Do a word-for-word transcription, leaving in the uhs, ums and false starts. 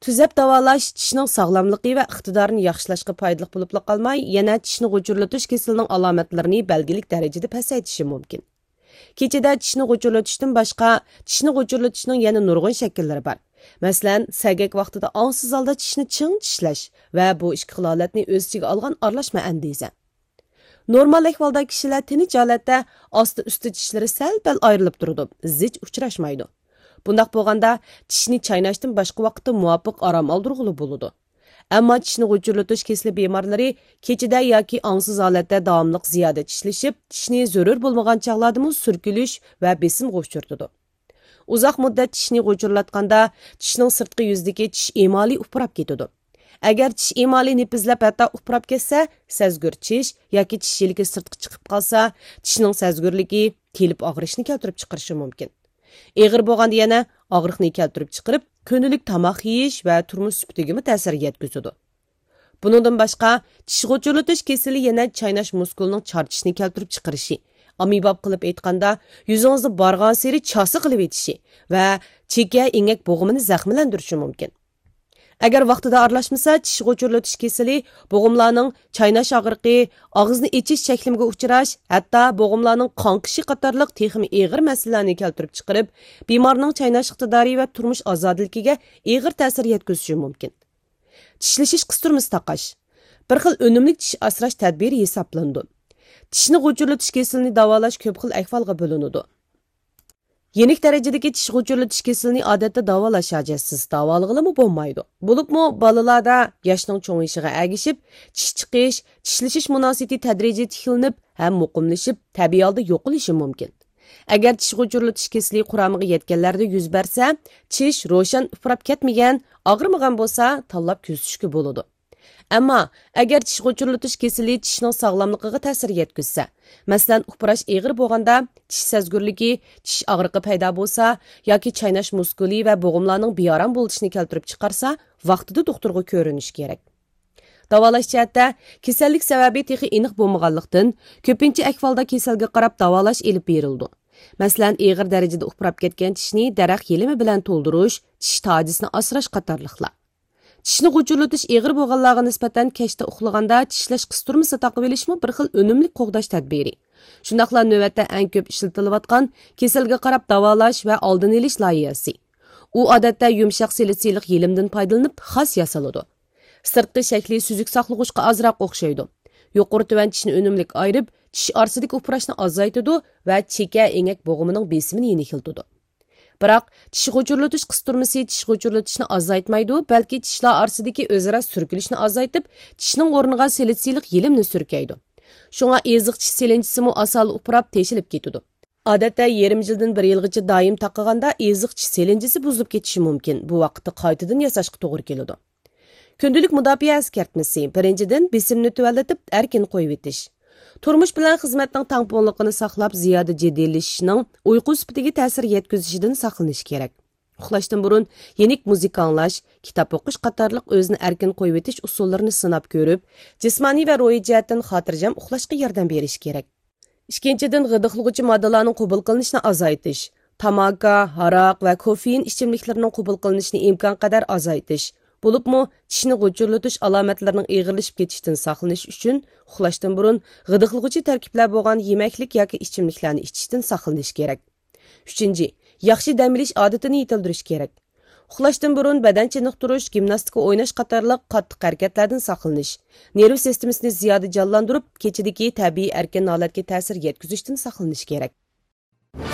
تۈزەپ داۋالاش چىشنىڭ ساغلاملىقى ۋە ئىقتىدارىنى ياخشىلاشقا پايدىلىق بولۇپلا قالماي، يەنە چىشنى غۇچۇرلىتىش كېسىلىنىڭ ئالامەتلىرىنى بەلگىلىك دەرىجىدە پەسەيتىشى مۇمكىن. كېچىدە چىشنى غۇچۇرلىتىشتىن باشقا، چىشنى غۇچۇرلىتىشنىڭ يەنە نۇرغۇن شەكىللىرى بار. مەسىلەن، سەگەك ۋاقتىدا ئاڭسىز ھالدا چىشنى چىڭ چىشلەش ۋە بۇ ئىككى خىل ھالەتنى ئۆز ئىچىگە ئالغان ئارىلاشما ئەندىزە. نورمال ئەھۋالدا كىشىلەر تىنچ ھالەتتە ئاستى ئۈستى چىشلىرى سەل پەل ئايرىلىپ تۇرىدۇ، زىچ ئۇچراشمايدۇ. بۇنداق بولغاندا، چىشنى چايناشتىن باشقا ۋاقىتتا مۇۋاپىق ئارام ئالدۇرغىلى بولىدۇ. ئەمما چىشنى غۇچۇرلىتىش كېسىلى بىمارلىرى كېچىدە ياكى ئاڭسىز ھالەتتە داۋاملىق زىيادە چىشلىشىپ، چىشنى زۆرۈر بولمىغان چاغلاردىمۇ سۈركىلىش ۋە بېسىمغا ئۇچرىتىدۇ. ئۇزاق مۇددەت چىشنى غۇچۇرلاتقاندا، چىشنىڭ سىرتقى يۈزىدىكى چىش ئېمالى ئۇپراپ كېتىدۇ. ئەگەر چىش ئېمالى نېپىزلاپ ھەتتا ئۇپراپ كەتسە، سەزگۈر چىش ياكى چىش يىلىكى سىرتقا چىقىپ قالسا، چىشنىڭ سەزگۈرلۈكى، تېلىپ ئاغرىشنى كەلتۈرۈپ چىقىرىشى مۇمكىن. ئېغىر بولغاندا يەنە ئاغرىقنى كەلتۈرۈپ چىقىرىپ، كۈندىلىك تاماق يېيىش ۋە تۇرمۇش سۈپىتىگىمۇ تەسىر يەتكۈزىدۇ. بۇنىڭدىن باشقا، چىش غۇچۇرلىتىش كېسىلى يەنە چايناش مۇسكۇلىنىڭ چارچىشىنى كەلتۈرۈپ چىقىرىشى، ئاممىباب قىلىپ ئېيتقاندا، يۈزىڭىزنى بارغانسېرى چاسا قىلىۋېتىشى ۋە چېكە ئېڭەك بوغۇمىنى زەخىملەندۈرۈشى مۇمكىن. ئەگەر ۋاقتىدا ئارىلاشمىسا، چىش غۇچۇرلىتىش كېسىلى بوغۇملارنىڭ چايناش ئاغرىقى، ئاغزىنى ئېچىش چەكلىمىگە ئۇچراش، ھەتتا بوغۇملارنىڭ قاڭقىشى قاتارلىق تېخىمۇ ئېغىر مەسىلىلەرنى كەلتۈرۈپ چىقىرىپ، بىمارنىڭ چايناش ئىقتىدارى ۋە تۇرمۇش ئازادىلىكىگە ئېغىر تەسىر يەتكۈزۈشى مۇمكىن. چىشلىشىش قىستۇرمىسى تاقاش بىر خىل ئۈنۈملۈك چىش ئاسراش تەدبىرى ھېسابلىنىدۇ. چىشنى غۇچۇرلىتىش كېسىلىنى داۋالاش كۆپ خىل ئەھۋالغا بۆلۈنىدۇ. يېنىك دەرىجىدىكى چىش غۇچۇرلىتىش كېسىلىنى ئادەتتە داۋالاش ھاجەتسىز، داۋالىغىلىمۇ بولمايدۇ. بولۇپمۇ بالىلاردا ياشنىڭ چوڭىيىشىغا ئەگىشىپ، چىش چىقىش، چىشلىشىش مۇناسىۋىتى تەدرىجىي تىكلىنىپ ھەم مۇقىملىشىپ، تەبىئىي ھالدا يوقىلىشى مۇمكىن. ئەگەر چىش غۇچۇرلىتىش كېسىلى قۇرامىغا يەتكەنلەردە يۈز بەرسە، چىش روشەن ئۇپراپ كەتمىگەن، ئاغرىمىغان بولسا، تاللاپ كۆزىتىشكە بولىدۇ. ئەمما ئەگەر چىش غۇچۇرلىتىش كېسىلى چىشنىڭ ساغلاملىقىغا تەسىر يەتكۈزسە، مەسىلەن، ئۇپراش ئېغىر بولغاندا، چىش سەزگۈرلۈكى، چىش ئاغرىقى پەيدا بولسا ياكى چايناش مۇسكۇلى ۋە بوغۇملارنىڭ بىئارام بولۇشىنى كەلتۈرۈپ چىقارسا، ۋاقتىدا دوختۇرغا كۆرۈنۈش كېرەك. داۋالاش جەھەتتە، كېسەللىك سەۋەبى تېخى ئېنىق بولمىغانلىقتىن، كۆپىنچە ئەھۋالدا كېسەلگە قاراپ داۋالاش ئېلىپ بېرىلىدۇ. مەسىلەن، ئېغىر دەرىجىدە ئۇپراپ كەتكەن چىشنى دەرەخ يېلىمى بىلەن تولدۇرۇش، چىش تاجىسىنى ئاسراش قاتارلىقلار. چىشنى غۇچۇرلىتىش ئېغىر بولغانلارغا نىسبەتەن كەچتە ئۇخلىغاندا چىشلەش قىستۇرمىسى تاقىۋېلىشمۇ بىر خىل ئۈنۈملۈك قوغداش تەدبىرى. شۇنداقلا نۆۋەتتە ئەڭ كۆپ ئىشلىتىلىۋاتقان كېسەلگە قاراپ داۋالاش ۋە ئالدىنى ئېلىش لايىھەسى. ئۇ ئادەتتە يۇمشاق سىلىتسىلىق يېلىمدىن پايدىلىنىپ خاس ياسىلىدۇ. سىرتقى شەكلى سۈزۈك ساقلىغۇچقا ئازراق ئوخشايدۇ. يۇقىرى تۆۋەن چىشنى ئۈنۈملۈك ئايرىپ، چىش ئارىسىدىكى ئۇپراشنى ئازايتىدۇ ۋە چېكە ئېڭەك بوغۇمىنىڭ بېسىمىنى يېنىكلىتىدۇ. بىراق، چىش غۇچۇرلىتىش قىستۇرمىسى چىش غۇچۇرلىتىشنى ئازايتمايدۇ، بەلكى چىشلار ئارىسىدىكى ئۆزئارا سۈركىلىشنى ئازايتىپ، چىشنىڭ ئورنىغا سىلىتسىلىق يېلىمنى سۈركەيدۇ. شۇڭا ئېزىق چىش سېلىنچىسىمۇ ئاسانلا ئۇپراپ تېشىلىپ كېتىدۇ. ئادەتتە يېرىم يىلدىن بىر يىلغىچە دائىم تاقىغاندا ئېزىق چىش سېلىنچىسى بۇزۇلۇپ كېتىشى مۇمكىن، بۇ ۋاقىتتا قايتىدىن ياساشقا توغرا كېلىدۇ. كۈندىلىك مۇداپىئە ئەسكەرتمىسى، بىرىنچىدىن، بېسىمنى تۆۋەنلىتىپ، ئەركىن قويۇۋېتىش. تۇرمۇش بىلەن خىزمەتنىڭ تەڭپۇڭلۇقىنى ساقلاپ، زىيادە جىددىيلىشىشنىڭ ئۇيقۇ سۈپىتىگە تەسىر يەتكۈزۈشىدىن ساقلىنىش كېرەك. ئۇخلاشتىن بۇرۇن يېنىك مۇزىكا ئاڭلاش، كىتاب ئوقۇش قاتارلىق ئۆزىنى ئەركىن قويۇۋېتىش ئۇسۇللىرىنى سىناپ كۆرۈپ، جىسمانىي ۋە روھىي جەھەتتىن خاتىرجەم ئۇخلاشقا ياردەم بېرىش كېرەك. ئىككىنچىدىن، غىدىقلىغۇچى ماددىلارنىڭ قوبۇل قىلىنىشىنى ئازايتىش. تاماكا، ھاراق ۋە كوفېئىن ئىچىملىكلىرىنىڭ قوبۇل قىلىنىشىنى ئىمكانقەدەر ئازايتىش. بولۇپمۇ، چىشنى غۇچۇرلىتىش ئالامەتلىرىنىڭ ئېغىرلىشىپ كېتىشىدىن ساقلىنىش ئۈچۈن، ئۇخلاشتىن بۇرۇن غىدىقلىغۇچى تەركىبلەر بولغان يېمەكلىك ياكى ئىچىملىكلەرنى ئىچىشتىن ساقلىنىش كېرەك. ئۈچىنچى، ياخشى دەم ئېلىش ئادىتىنى يېتىلدۈرۈش كېرەك. ئۇخلاشتىن بۇرۇن بەدەن چېنىقتۇرۇش، گىمناستىكا ئويناش قاتارلىق قاتتىق ھەرىكەتلەردىن ساقلىنىش، نېرۋا سىستېمىسىنى زىيادە جانلاندۇرۇپ، كېچىدىكى تەبىئىي ئەركىن ھالەتكە تەسىر يەتكۈزۈشتىن ساقلىنىش كېرەك.